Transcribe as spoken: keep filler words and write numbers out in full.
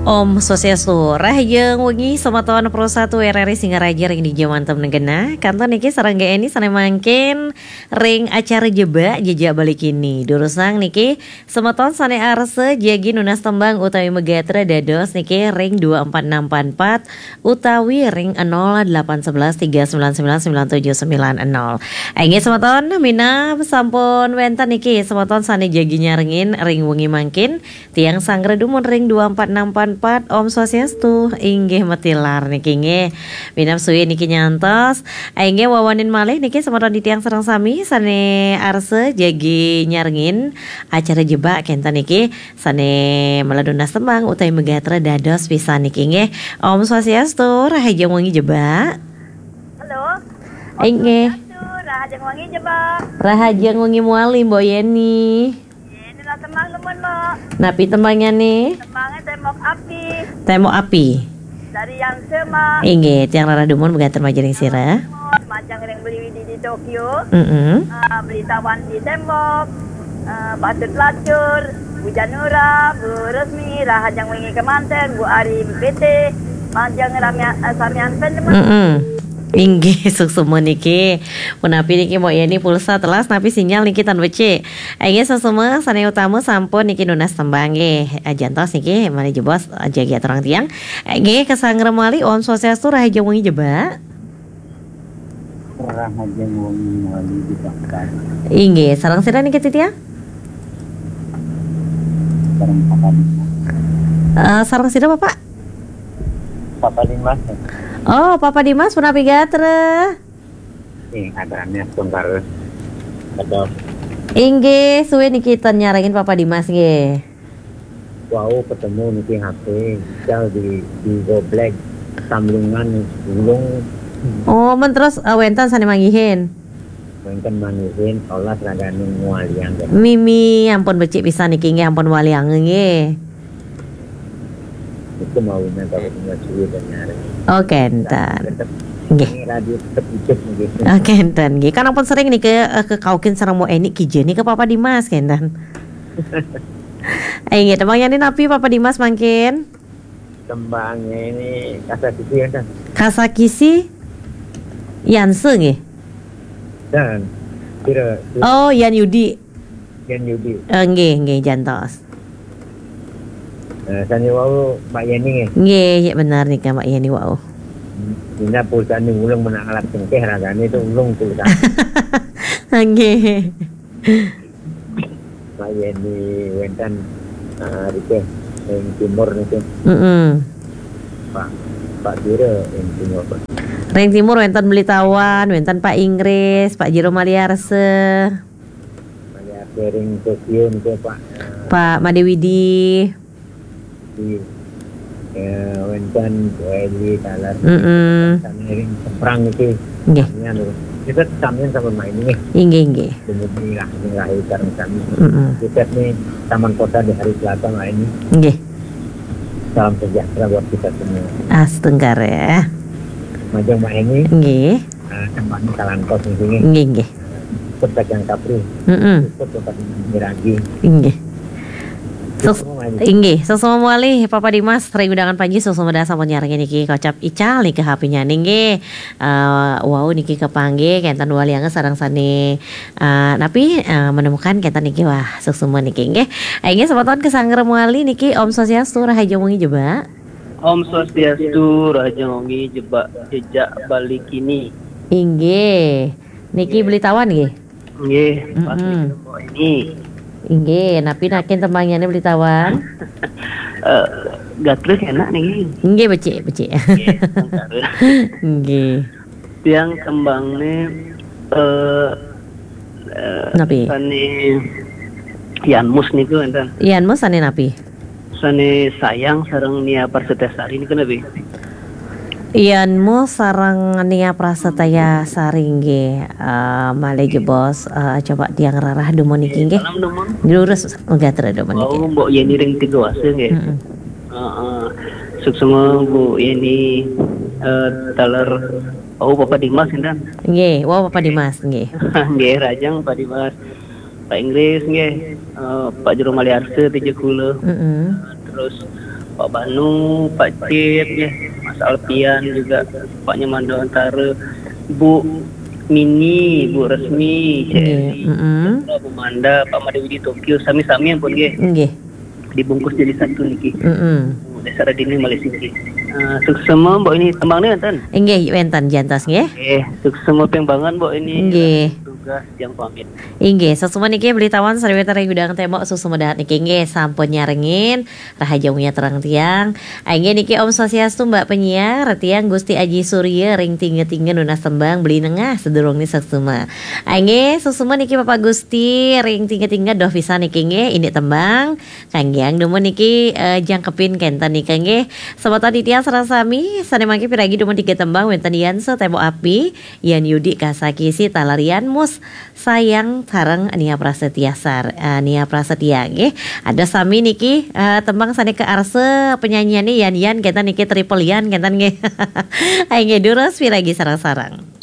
Om Swastiastu, rahajeng wengi semeton Pro satu R R I Singaraja ring dija manten genah. Kantun niki sareng Gék Eni sané mangkin ring acara Jebak, Jejak Bali Kini. Durusang niki semeton sané arsa jagi nunas tembang utawi magatra dados niki ring dua empat enam empat empat utawi ring nol delapan sebelas tiga sembilan sembilan sembilan tujuh sembilan nol. Inggih semeton, minab sampun wénten niki semeton sané jagi nyarengin ring wengi mangkin. Tiang sanggra dumun ring dua empat enam empat empat. Om Swastiastu. Inggih matilar niki nggih. Minab suwi niki nyantos. Inggih wawanin malih niki semeton titiang sareng sami sané arsa jagi nyarengin acara Jebak kénten niki sané mala nunas tembang utawi magatra dados pisan niki nggih. Om Swastiastu, rahajeng wengi Jebak. Halo. Inggih. Om Swastiastu, rahajeng wengi Jebak. Rahajeng wengi malih Mbok Yeni. Yeni lah tembang dumun, Mbok. Napi tembangnyané? Tembangnya Tembok Api. Tembok Api. Dari Yang Sema. Inggih, tiang rarah dumun magatra majeng ring sira. Majeng ring Beli Widi di Tokyo. Mm-mm. Ah, Beli Tawan di Tembok. Ah, Patut Lacur, Bu Janura, Bu Resmi, rahajeng wengi kémanten, Bu Ari P T, majeng ramian, eh, samian pun, Mbok. Mm-mm. Inggih, suksma niki. Punapi niki Mbok Yeni, pulsa telas napi sinyal niki tan becik. Inggih, suksma sané utama sampun niki nunas tembang nggih. Eh, jantos niki malih jebos, eh, jagi aturang tiang. Inggih, kasanggra malih, Om Swastiastu, rahajeng wengi Jebak. Rahajeng wengi malih Jebak. Inggih, sareng sira niki titiang? Sareng Papa Dimas. Eh, sareng sira, Bapak? Papa Dimas. Oh, Papa Dimas punapi gatra? Ih, aturang astungkara. Aduh. Inggih, suwi niki ten nyarengin Papa Dimas nggih. Wau ketemu niki H P, ical di, di goblek, samlingan, gulung. Oh, men terus, eh, wénten sané manggihin? Wénten manggihin, olas ragané ngwaliang. Mimi, ampun becik pisan niki nggih, ampun waliang nggih. Itu mau inang kalau punya suwi dan nyari. Oh, kénten. Tetep nggih. Ini radio tetep hidup nggih. Oh, kénten nggih. Kan ampun sering niki, eh, kekaukin sareng Mbok Eni kija niki Papa Dimas, kénten. Eh, nggih, tembangnyané napi Papa Dimas mangkin? Tembangnya ini Kasakisi ya, Kang? Kasakisi Yanse nggih. Dan kira, kira Oh, Yan Yudi. Yan Yudi. Eh, nggih, nggih, jantos. Eh, sané wau Mbak Yeni nggih. Nggih, ya benar nika Mbak Yeni wau. Dina pulsané ulung menang alat cengkeh ragané itu ulung pulsa. Nggih. Mbak Yeni wénten, eh, rike ing timur niki. Mm-mm. Pak, Pak Jiro ing timur. Ring timur wénten Beli Tawan, wénten Pak Inggris, Pak Jiro Maliarse. Maliarse ring Tokyo niki, Pak. Pak Made Widi. Di, eh, wénten Weli Talar. Mm-mm. Sané ring seberang niki. Nggih. Samian lho. Kita samian sama main ini. Inggih, inggih. Dumugi lah, ini lahir sareng sami. Mm-mm. Kita nih Taman Kota di hari Selasa main ini. Nggih. Salam sejahtera buat kita semua. Astungkara. Majeng Mbak Eni. Nggih. Ah, kembali kalantos niki nggih. Nggih, nggih. Ikut Kacang Kapri. Mm-mm. Ikut Bapak Miragi. Nggih. Sus-, Semua ini. Inggih, suksma malih Papa Dimas, ring undangan panji suksma dah sampun nyarengin niki kocap ical niki H P-nya nggih. Eh, wau niki kepanggih, kénten waliang sareng sané, eh, napi, eh, menemukan kénten niki, wah, suksma niki nggih. Eh, inggih, semeton kasanggra malih niki, Om Swastiastu, rahajeng wengi Jebak. Om Swastiastu, rahajeng wengi Jebak, Jejak Bali Kini. Inggih. Niki Beli Tawan nggih? Nggih, pas Mm-mm. Niki Mbok Eni. Inggih, napi nakin tembangnyané Beli Tawan? Eh, gatra enak niki. Inggih, becik, becik. Nggih, sementara. Nggih. Tiang tembangné, eh, eh, Napi? Sané Yanmus niku wénten. Yanmus sané napi? Sané Sayang sareng Nia Prasetya Sari niku napi? Yanmus sareng Nia Prasetya Sari nggih, eh, malih jebos, eh, coba tiang rarah dumun niki nggih. Salam dumun. Lurus gatra dumun niki. Wau, Mbok Yeni ring Tiga Wasa nggih. Mm-mm. Heeh. Suksma Bu Yeni, eh, taler, oh, Bapak Dimas, sinten? Nggih, wau Bapak Dimas nggih. Nggih, rahajeng Pak Dimas. Pak Inggris nggih, eh, Pak Jero Maliarsa tija kula. Mm-mm. Terus Pak Banu, Pak Cip, ya, Mas Alpian juga, Pak Nyoman Dewantara, Bu Mini, Bu Resmi, Nggih, Celi, mm-mm. Bu Manda, Pak Made Widi Tokyo, sami-sami ampun nggih. Nggih. Dibungkus jadi satu niki. Mm-mm. Desa Radini Malaysia niki. Eh, suksma Mbok Ini, tembang ni wonten. Inggih, wonten jantos nggih. Eh, suksma ping banget Mbok Ini. Nggih. Tugas yang pamit. Inggih, suksma niki Beli Tawan Sriwetara Gudang Tembok, suksma dahat niki nggih sampun nyarengin Rahayu Wengi terang tiang. Inggih niki Om Swastiastu Mbak penyiar, tiang Gusti Aji Surya ring tingga-tingga nunas tembang Beli Nengah sedurung ni suksma. Inggih, suksma niki Bapak Gusti ring tingga-tingga doh pisan niki nggih, ini tembang kangge dumun niki eh, jangkepin kenten nika nggih. Semeton titiang sareng sami sane mangke piragi dumun tiga tembang wenten Yansa Tembok Api, Yan Yudi Kasakisi Talarian Mus Sayang sareng Nia Prasetya Sar, eh, Nia Prasetya nggih. Ada sami niki eh, tembang sane kearsa penyanyiane Yan Yan kenten niki Triple Yan kenten nggih. Ayo nggih durus piragi sareng-sareng.